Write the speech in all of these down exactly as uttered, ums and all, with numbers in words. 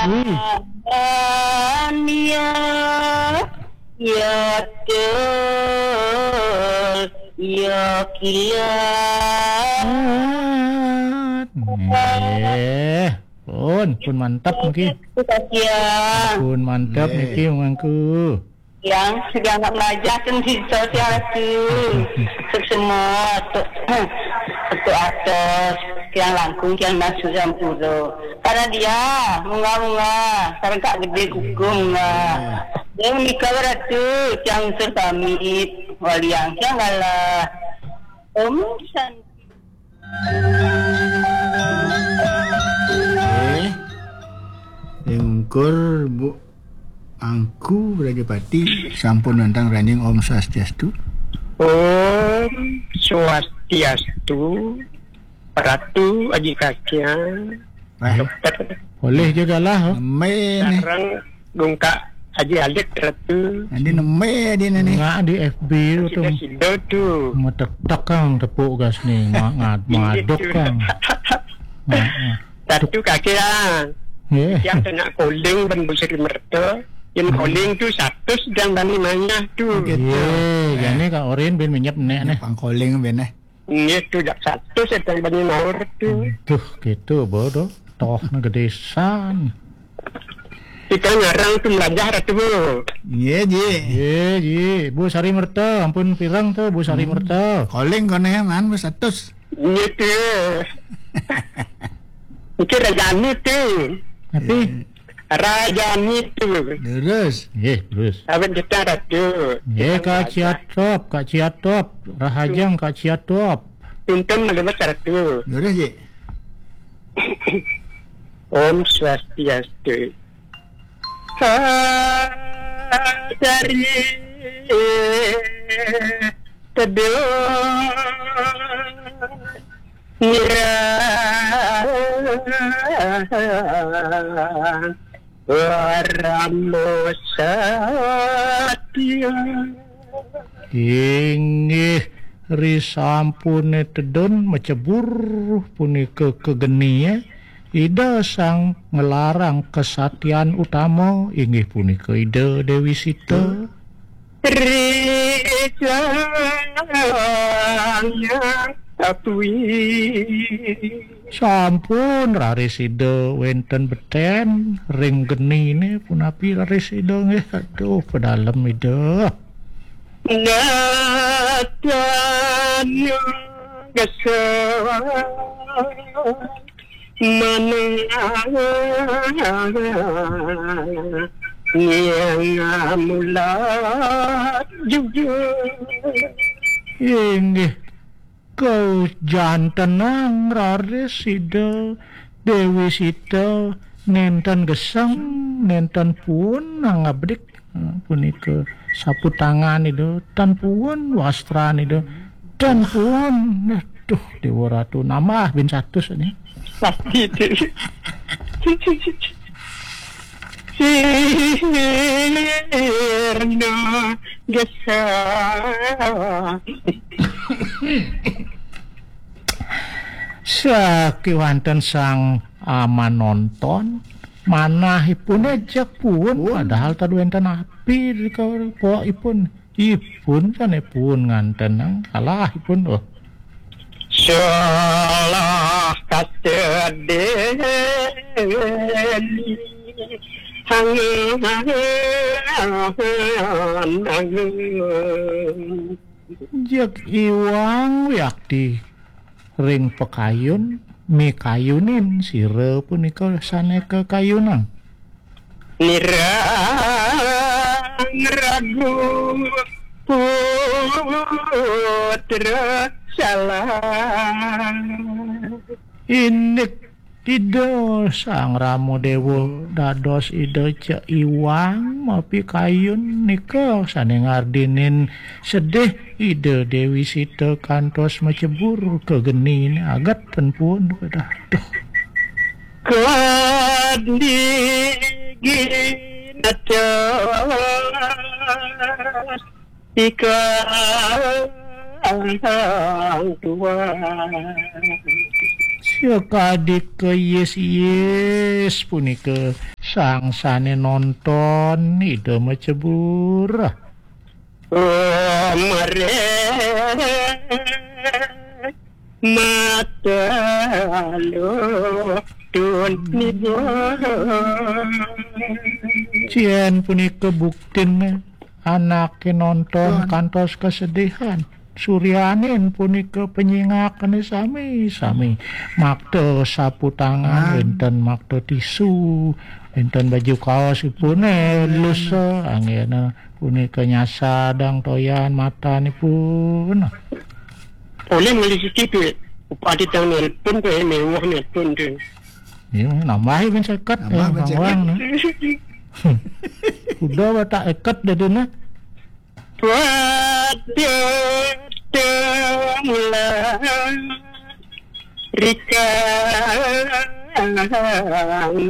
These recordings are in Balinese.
Ih. Ania, ya tel, ya kilat. Nggih. Pun, pun mantep niki. Terima kasih, ya. Pun mantep niki, mangku. Yang sedang nak belajar kan di sosial tu. Semua tu, tu atas, yang langkung, yang masuk yang pura. Pada dia, munga-munga, sekarang tak gede kuku munga. Dia menikah beratu, yang usul kami, waliang, yang galah. Om Shanti. Okey. Ring ungkur Bu Angku Rajapati sampun nantang ranjing. Om Swastiastu. Om Swastiastu. Ratu Aji Kakian. Wah. Dokter. Boleh juga lah, oh. Neme ni. Sarang Gungkak Aji Alit Ratu. Adi neme adi ni. Ngak di F B tu. Sida-sida tu. Metek-tek kang tepuk gas ni. Mak ngat maduk kang. Mak, mak. Satu kaki ah. Nggih. Yang kena calling ban Bu Sri Merta. Yang calling tu satu sedang bani manah tu. Okey. Nggih, jani Kak Orin bin menyep nek neh. Pang calling bin eh. Nggih, tu jak satu sedang bani maur tu. Duh, gitu bodoh. Toh negeri san. Kita ngarang tu melajah Ratu. Nggih, Ji. Nggih, Ji. Bu Sari Merta, ampun pirang tu Bu Sari Merta. Calling kone man wis satus. Nggih tu. Iki rajane tu. Tapi rajane tu. Lurus. Nggih, lurus. Awet kita Ratu. Nggih, Kak Ciatop, Kak Ciatop. Rahajeng Kak Ciatop. Tuntun melebet Ratu. Lurus, Ji. Om Swastiastu. Sadari teduh nira waramo satya. Inggih, risampune tedun macebur punika kegenie, Ida sang nglarang kesatian utama, inggih punika Ida Dewi Sita. Ri sang yang tatwi. Sampun raris Ida wenten beten ring genine, punapi raris Ida nggih. Aduh, pedalem Ida. Natanya gesa manang yang mula juga. Inggih, kajantenang raris Ida Dewi Sita nenten geseng, nenten puun nang abdik. Hmm, punika sapu tangan Ida, tan puun wastran Ida, tan puun. Aduh, Dewa Ratu nambah bin satus ini. Pasti tu. Sirna gesa. Sakiwanten sang amanonton, manahipun ejek puun, padahal tadi wenten api di kawruh pokipun. Ipun sane puun ngantenang, salah ipun, oh. Salah kata deni hangan. Jeg iwang wiakti ring pakayun, mikayunin sira punika sane kakayunang. Nirang ragu putra salah. Indik Ida Sang Rama Dewa dados Ida Cek Iwang mapikayun nika sane ngardinin sedih Ida Dewi Sita kantos macebur ka genine aget ten puun kedah. Duh. Kadi ginatos Ikang tuan. Sia kadi keyis-yis punika sangsane nonton Ida macebur. Oh, mareh mata lutun niku. Yen punika buktine anake nonton kantos kesedihan. Suryanin punika penyingakane sami-sami makta sapu tangan, wenten makta tisu, wenten baju kaosipune lus, anggena punika nyasadang toyan matanipun. Oleh ngelisiki duit. Upati tang nelpon, kaya mewah nelpon, deh. Ya, nambahi ben seket. Nambah ben seket. Udah watak eket dadine. Waduh, mula rika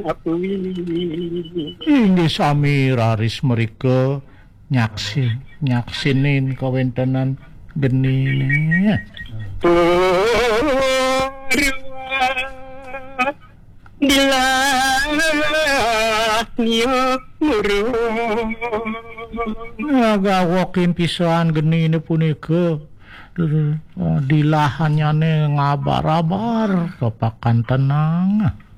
apui. Inggih sami raris merika nyaksi, nyaksinin kawentenan genine. Purwa dilah niyo murung. Ngagawokin pisan genine punika. Eh, dilahanyane ngabar-abar kepakan tenang.